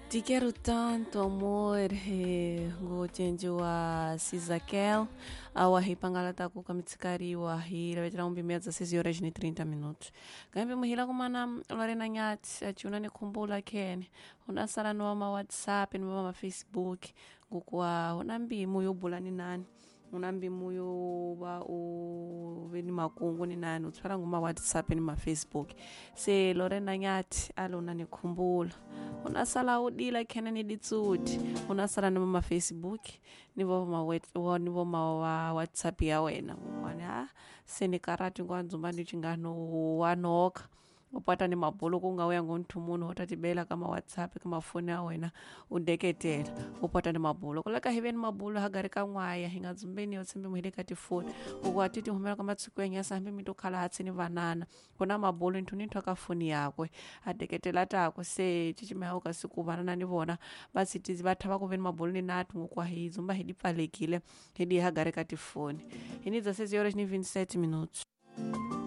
Te quero tanto amor, ngocenjiwa Sizakel awa hipangalata kuka mitsikariwa hilavetela umbimea 16 horas ni 30 minutos. Kambi muhila kumana Lorena Nyati achiuna nikhumbula kene unasala niwa ma WhatsApp niwa ma Facebook ngukuwa una mbimu yobula ni nani, una mbimu yo va u ve ni makungu ni nani, u tshwala nguma WhatsApp ni ma Facebook. Se Lorena Nyati ali una nikhumbula, unasala u dila khene ni ditsudi, unasala ni ma Facebook ni vo ma ni vo ma wa WhatsApp ya wena ngukwani ha se ni karati ngwa ndzumba ni chingano wa noka upata ni mabulu ku nga uya ngonthu munhu u ta tibela ka ma WhatsApp ka mafoni ya wena u deketela upata ni mabulu kuleka hi ve ni mabulu hagari ka n'waya hi nga dzumbeni yo tshembe muhile ka tifoni ku wa ti ti humela ka matshiku ya nyasa hambi mi to khala hatsi ni vanana ku na mabulu nthu ni nthu ka foni yakwe a deketela tako se cicimeha ka siku vanana ni vona va tshitizi va thava ku ve ni mabulu ni nati ngokwa hi dzumba hi di pfalekile hi di hagari ka tifoni hi ni 16 horas ni 27 minutos.